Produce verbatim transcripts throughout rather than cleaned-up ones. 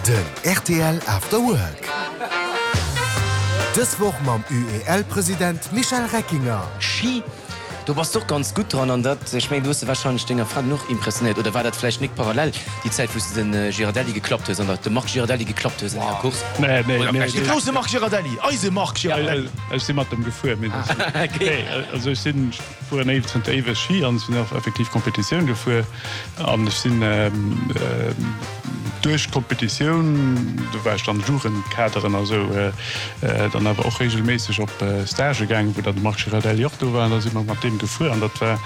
Den rtl After Work. Dës Woch mam UEL-President Michel Reckinger. Schi, do bass de och ganz gutt dran an dat, ech mengen, du hues de warscheinlech denger Fra och impressionéiert, oder war dat vläicht nik parallel déi Zäit wou s de den Girardelli geklappt hues an der de Marc Girardelli geklappt hues an enger Course? Nee, nee, Oder nee, vläicht nee. De grousse Marc Girardelli, eise Marc Girardelli. Ech si mat em gefuer, mee dat, nee, also ech sinn, fueren éiw zënter éiweg Schi an ech sinn och effektiv Competitioun gefuer an ech sinn duerch d'Competitioun, do war ech dann Jugendkaderen a sou, dann awer och reegelméisseg op Stagë gaangen, wou dann de Marc Girardelli och do war an da si mer mat deem gefuer an dat war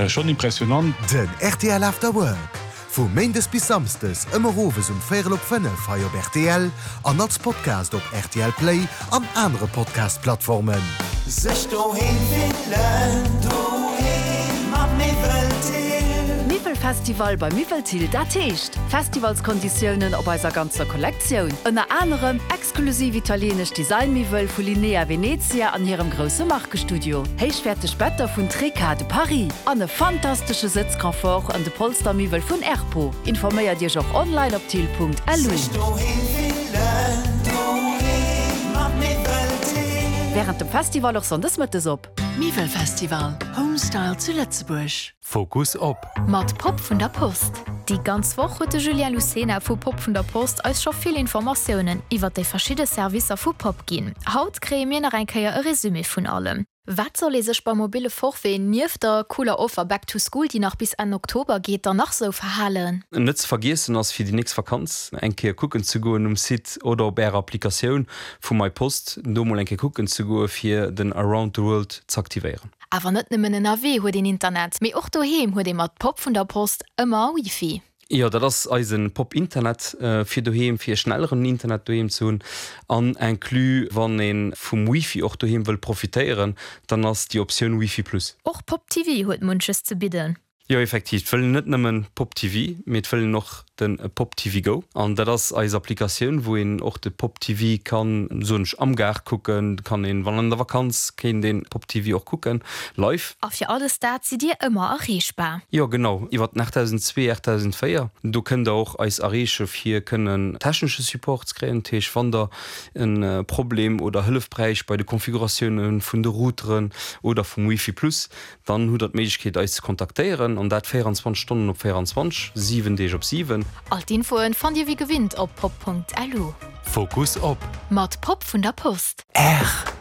schonn impressionant. Den rtl After Work, vu méindes bis samsdes ëmmer owes um véierel op fënnef hei op rtl an als Podcast op rtl Play an anere Podcast-Plattformen. Sech doheem fillen, doheem mat Miwwel Thill. Miwwelfestival bei Miwwel Thill, dat heescht Festivalskonditiounen op eiser ganzer Kollektioun. Ënner anerem exklusiv italienesch Designmiwwel vu Linea Venezia an hirem grousse Markestudio, héichwäerteg Better vun Treca de Paris an e fantastesche Sëtzconfort an de Polstermiwwel vun Erpo. Informéiert Iech och online op thill.lu. Sech doheem fillen, doheem mat Miwwel Thill. Wärend dem Festival och sonndes mëttes op. Miwwelfestival, Homestyle zu Lëtzebuerg. Fokus op. Mat Pop vun der Post. Déi ganz Woch huet de Julien Lucena vu Pop vun der Post eis scho vill Informatiounen iwwer déi verschidde Servicer vu Pop ginn. Haut kréie mir nach eng Kéier e Resumé vun allem. Wat soll ee sech beim mobile Forfait nieft der cooler Offer Back to School, déi nach bis Enn Oktober geet, dann nach sou verhalen? Net ze vergiessen ass fir déi nächst Vakanz eng Kéier kucken ze goen um Site oder op ärer Applikatioun vu MyPost, do mol eng Kéier kucken ze goe fir den Around the World ze aktivéieren. Awer net nëmmen ënnerwee huet een Internet, mee och doheem huet ee mat Pop vun der Post ëmmer Wifi. Jo, dat ass eise Pop Internet fir doheem, fir schnelleren Internet doheem ze hunn. An inclus, wann ee vum Wifi och doheem wëll profitéieren, dann ass déi Optioun Wifi Plus. Och Pop TV huet munches ze bidden. Jo, effektiv, et wëll een net nëmmen Pop TV, mee et wëll een och de Pop TV Go. An dat ass eis Applikatioun, wou een och de Pop TV kann, soen ech, am Gaart kucken, kann een, wann an der Vakanz, kéint een Pop TV och kucken, live. A fir alles dat sidd Dir ëmmer erreechbar. Jo, genau, iwwer den achttausendzwee, achttausendzvéier. Do kënnt Der och eis erreeche fir kënnen technesche Support ze kréien. Dat heescht, wann Der e Problem oder Hëllef bräicht bei de Konfiguratioune vun de Routeren oder vum Wifi Plus, dann hutt Der d'Méiglechkeet eis ze kontaktéieren, an dat véieranzwanzeg Stonnen op véieranzwanzeg, siwen Deeg op siwen. All d'Infoen fannt Dir wéi gewinnt op pop.lu. Fokus op. Mat Pop vun der Post. R.